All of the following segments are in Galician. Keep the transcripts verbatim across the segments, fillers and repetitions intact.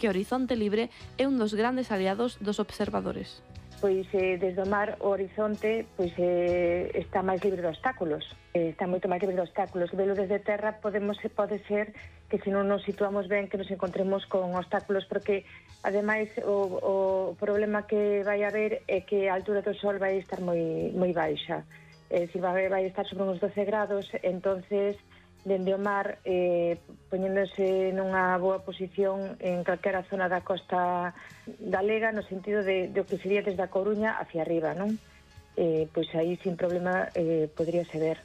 que o horizonte libre é un dos grandes aliados dos observadores. Pois eh, desde o mar o horizonte pois eh, está máis libre de obstáculos, eh, está moito máis libre de obstáculos. Velo desde terra podemos pode ser que se non nos situamos ben que nos encontremos con obstáculos, porque ademais o, o problema que vai haber é que a altura do sol vai estar moi moi baixa, é dicir, vai, vai estar sobre uns doce grados, entonces dende o mar, eh, poñéndose nunha boa posición en calquera zona da costa galega, no sentido de, de o que sería desde a Coruña hacia arriba, non? Eh, pois aí, sin problema, eh, podríase ver.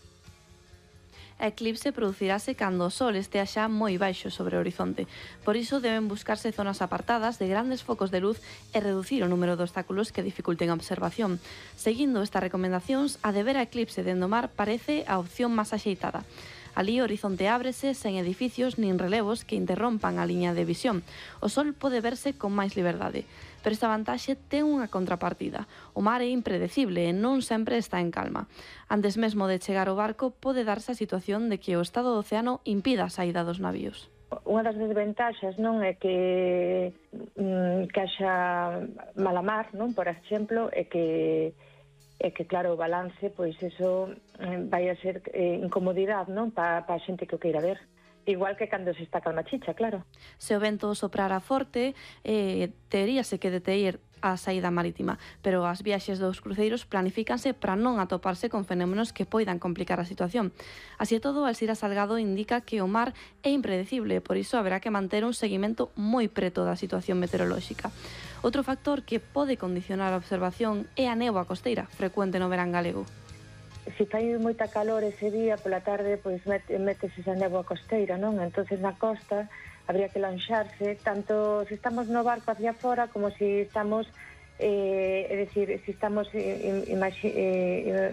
A eclipse producirase cando o sol estea xa moi baixo sobre o horizonte. Por iso deben buscarse zonas apartadas de grandes focos de luz e reducir o número de obstáculos que dificulten a observación. Seguindo estas recomendacións, a de ver a eclipse dende o mar parece a opción máis axeitada. Alí o horizonte ábrese sen edificios nin relevos que interrompan a liña de visión. O sol pode verse con máis liberdade. Pero esta vantaxe ten unha contrapartida. O mar é impredecible e non sempre está en calma. Antes mesmo de chegar ao barco, pode darse a situación de que o estado do océano impida a saída dos navíos. Unha das desventaxas, non, é que mm, que haxa mala mar, non, por exemplo, é que é que, claro, o balance, pois, eso vai a ser eh, incomodidade, non, para pa a xente que o queira ver. Igual que cando se está calma chicha, claro. Se o vento soprara forte, eh, teríase que deteir a saída marítima, pero as viaxes dos cruceiros planifícanse para non atoparse con fenómenos que poidan complicar a situación. Así e todo, Alzira Salgado indica que o mar é impredecible, por iso haberá que manter un seguimento moi preto da situación meteorolóxica. Outro factor que pode condicionar a observación é a néboa costeira, frecuente no verán galego. Se fai moita calor ese día, pola tarde, pois métese esa néboa costeira, non? Entonces na costa habría que lanxarse, tanto se estamos no barco hacia fora como se estamos, eh, é dicir, se estamos eh,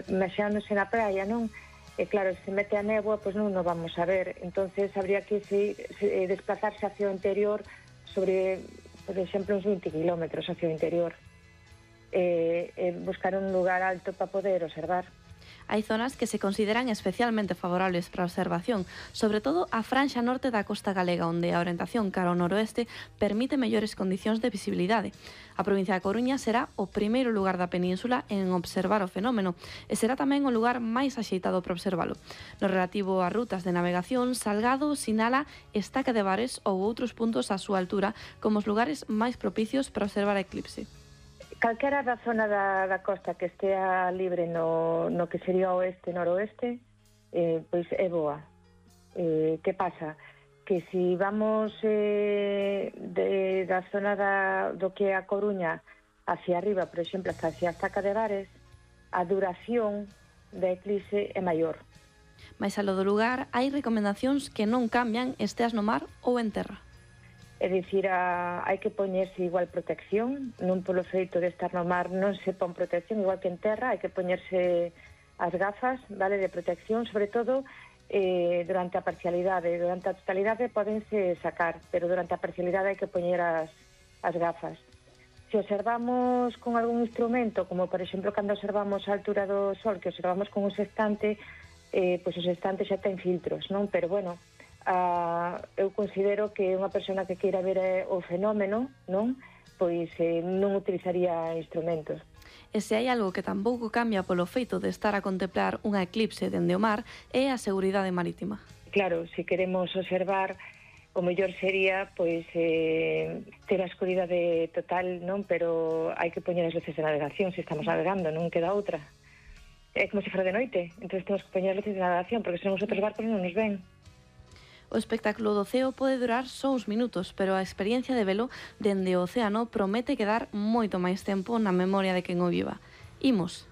imaxinándose na praia, non? E claro, se mete a néboa, pois non nos vamos a ver. Entonces habría que se, se, desplazarse hacia o interior sobre, por exemplo, uns vinte kilómetros hacia o interior. Eh, eh, buscar un lugar alto para poder observar. Hai zonas que se consideran especialmente favorables para a observación, sobre todo a franxa norte da costa galega, onde a orientación cara ao noroeste permite mellores condicións de visibilidade. A provincia da Coruña será o primeiro lugar da península en observar o fenómeno e será tamén o lugar máis axeitado para observalo. No relativo a rutas de navegación, Salgado sinala Estaca de Bares ou outros puntos á súa altura como os lugares máis propicios para observar a eclipse. Calquera da zona da, da costa que estea libre no, no que sería oeste-noroeste, eh, pois é boa. Eh, que pasa? Que se vamos eh, de, da zona da, do que é a Coruña hacia arriba, por exemplo, hasta hacia a Estaca de Bares, a duración da eclipse é maior. Mais alo do lugar, hai recomendacións que non cambian esteas no mar ou en terra. É dicir, a, hai que poñerse igual protección, non polo feito de estar no mar non se pon protección, igual que en terra, hai que poñerse as gafas, vale, de protección, sobre todo eh, durante a parcialidade. Durante a totalidade podense sacar, pero durante a parcialidade hai que poñer as, as gafas. Se observamos con algún instrumento, como por exemplo cando observamos a altura do sol, que observamos con un sextante, eh, pois o sextante xa ten filtros, non? Pero bueno, Uh, eu considero que unha persona que queira ver eh, o fenómeno, non? Pois eh, non utilizaría instrumentos. E se hai algo que tampouco cambia polo feito de estar a contemplar unha eclipse dende o mar é a seguridade marítima. Claro, se queremos observar, o mellor sería pois eh, ter a escuridade total, non? Pero hai que poñer as luces de navegación se estamos navegando, non queda outra. É como se fora de noite, entón temos que poñer as luces de navegación, porque senón os outros barcos non nos ven. O espectáculo do ceo pode durar só uns minutos, pero a experiencia de velo dende o océano promete quedar moito máis tempo na memoria de quen o viva. Imos.